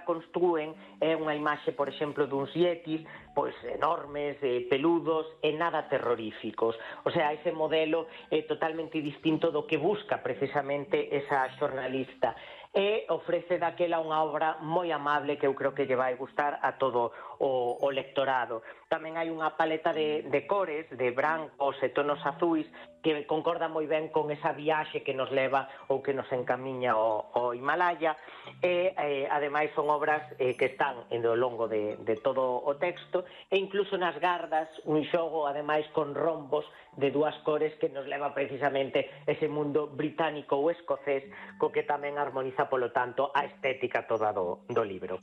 a construen é unha imaxe, por exemplo, duns yetis, pois enormes, peludos e nada terroríficos. O sea, ese modelo é totalmente distinto do que busca precisamente esa xornalista. E ofrece daquela unha obra moi amable que eu creo que lle vai gustar a todo o lectorado. Tamén hai unha paleta de cores, de brancos e tonos azuis, que concorda moi ben con esa viaxe que nos leva ou que nos encamiña ao Himalaya, e ademais son obras que están ao longo de todo o texto, e incluso nas gardas un xogo ademais con rombos de dúas cores que nos leva precisamente ese mundo británico ou escocés co que tamén armoniza polo tanto a estética toda do libro.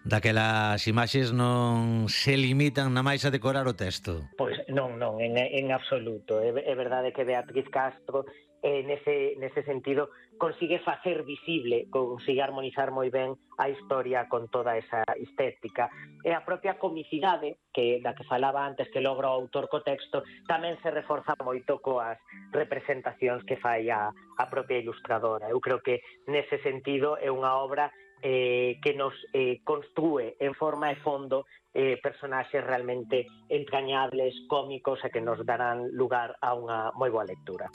Daquelas imaxes non se limitan na máis a decorar o texto. Pois non, en absoluto. É verdade que Beatriz Castro nese sentido consigue facer visible, consigue armonizar moi ben a historia con toda esa estética. E a propia comicidade da que falaba antes que logra o autor co texto tamén se reforza moito coas representacións que fai a propia ilustradora. Eu creo que nese sentido é unha obra que nos construe en forma e fondo personaxes realmente entrañables, cómicos e que nos darán lugar a unha moi boa lectura.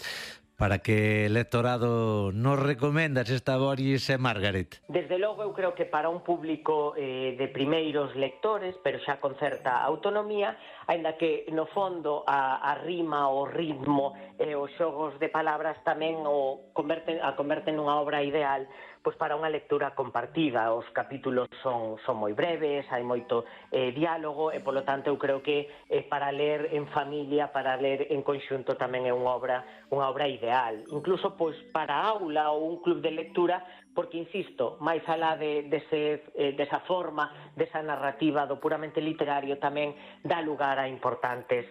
Para que lectorado nos recomendas esta Boris e Margaret? Desde logo eu creo que para un público de primeiros lectores, pero xa con certa autonomía, aínda que no fondo a rima, o ritmo e os xogos de palabras tamén a converten nunha obra ideal pois para unha lectura compartida. Os capítulos son moi breves, hai moito diálogo e, polo tanto, eu creo que para ler en familia, para ler en conxunto tamén é unha obra ideal. Incluso pois para aula ou un club de lectura, porque, insisto, máis alá desa forma, desa narrativa do puramente literario, tamén dá lugar a importantes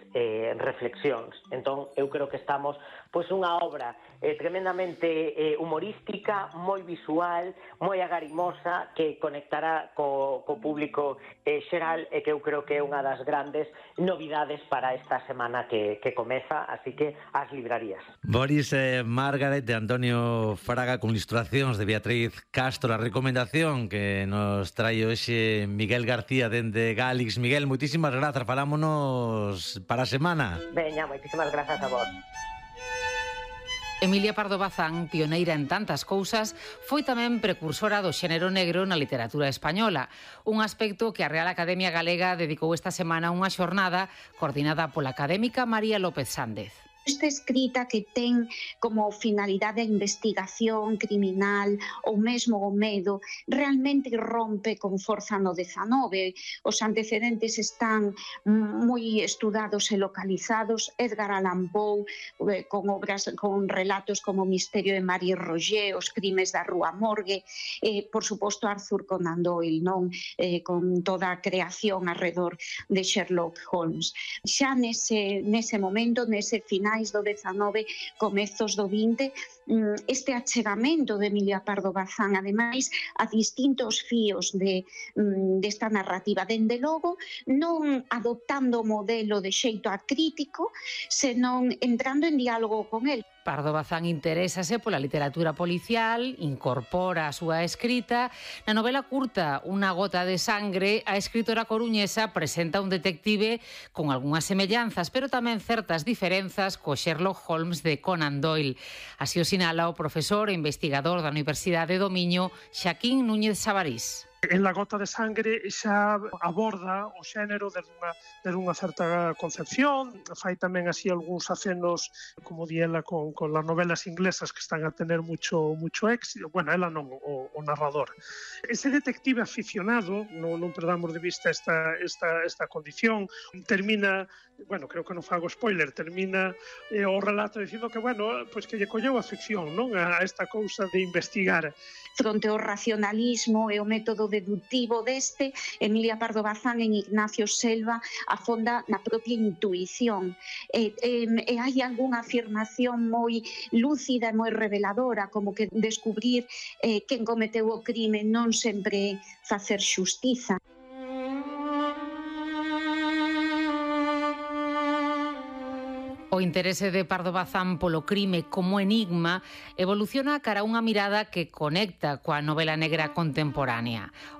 reflexións. Entón, eu creo que estamos pois unha obra tremendamente humorística, moi visual, moi agarimosa, que conectará co público xeral e que eu creo que é unha das grandes novidades para esta semana que comeza, así que as librarías. Boris e Margaret de Antonio Fraga con ilustracións de Beatriz Castro, a recomendación que nos trae hoxe Miguel García dende Gálix. Miguel, moitísimas grazas, falámonos para a semana. Veña, moitísimas grazas a vos. Emilia Pardo Bazán, pioneira en tantas cousas, foi tamén precursora do xénero negro na literatura española, un aspecto que a Real Academia Galega dedicou esta semana a unha xornada coordinada pola académica María López Sández. Esta escrita que ten como finalidade a investigación criminal ou mesmo o medo realmente rompe con forza no 19. Os antecedentes están moi estudados e localizados. Edgar Allan Poe con obras, con relatos como O misterio de Marie Roget, Os crimes da Rúa Morgue, por suposto Arthur Conan Doyle, non? Con toda a creación alrededor de Sherlock Holmes. Xa nese momento, nese final do 19, comezos do 20, este achegamento de Emilia Pardo Bazán, ademais, a distintos fíos desta narrativa, dende logo, non adoptando o modelo de xeito acrítico, senón entrando en diálogo con el. Pardo Bazán interésase pola literatura policial, incorpora a súa escrita. Na novela curta Unha gota de sangre, a escritora coruñesa presenta un detective con algunhas semellanzas, pero tamén certas diferenzas co Sherlock Holmes de Conan Doyle. Así o sinala o profesor e investigador da Universidade do Miño, Xaquín Núñez Sabarís. En La gota de sangre xa aborda o xénero desde unha certa concepción, fai tamén así algúns acenos, como di ela, con las novelas inglesas que están a tener mucho éxito, bueno, ela non, o narrador. Ese detective aficionado, non perdamos de vista esta condición, termina, bueno, creo que non fago spoiler, termina o relato dicindo que, bueno, pois que lle colleu afección, non, a esta cousa de investigar. Fronte ao racionalismo e o método deductivo deste, Emilia Pardo Bazán en Ignacio Selva afonda na propia intuición. E hai algunha afirmación moi lúcida e moi reveladora, como que descubrir quen cometeu o crime non sempre facer xustiza. O interese de Pardo Bazán polo crime como enigma evoluciona cara a unha mirada que conecta coa novela negra contemporánea. O